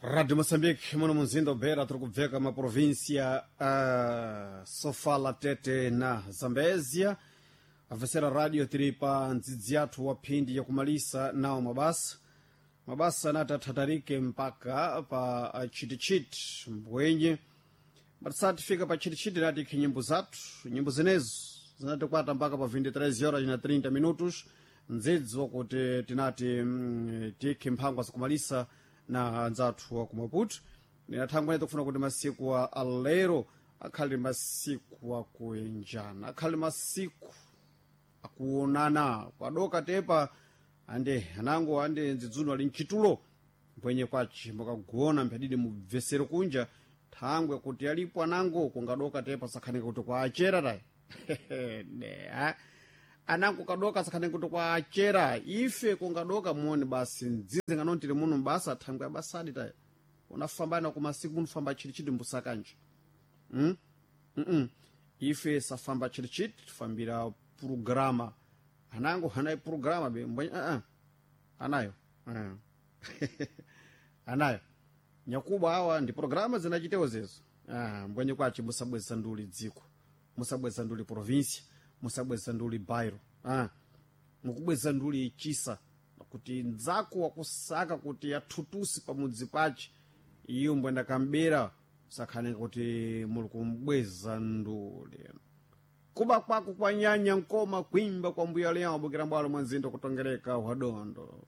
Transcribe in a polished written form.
Rádio Moçambique, muno munzinda Beira, tiri kubveka maprovíncia Sofala, Tete na Zambézia. Avesera rádio tiri pa ndzidzi yathu wa phindi yakumalisa nawo mabasa mabasa anati athatarike mpaka pa chitichiti mbwenye matisati pa chitichiti nati ikhi nyimbo zathu, nyimbo zenezo zinatikwata mpaka pa 23 horas na 30 minutos, ndzidzi wakuti tinati tikhe mphangwa zakumalisa na anzathu wa ku Maputo. Ninathangwene tikufuna kuti masiku a alero akhale masiku akuenjana, akhale masiku akuonana kwadoka tepa ande anango ande ndzidzuno ali mchitulo mbwenye kwaci mukagona mphadidi mubvesere kunja thangwe kuti alipo anango kungadoka tepa sakhanika kuti kwaachera tayi. Ne, ha? Anango kadoka sakhanika kuti kwaachera ife kungadoka muone basi ndzidzi nganontiri muno mbasa thangwe abasadi tayi unafambana kumasiku munofamba chitichiti mbusakanje. Ife safamba chitichiti, tifambira purograma anango hanayo purograma be mbwenye anayo anayo nyakuba awa ndi programa zinachitewo zezo. Mbwenye kwaci musabweza nduli dziko, musabweza nduli província, musabweza nduli bairo, mukubweza nduli chisa kuti ndzako wakusaka kuti athutusi pamudzi pace iyo mbwenda kambera sakhanenga kuti muli kumbweza nduli kuba kwako kwanyanya nkoma kwimba kwa mbuya leyawo bukira mbwalo mwa nzinda kutongereka wadondo.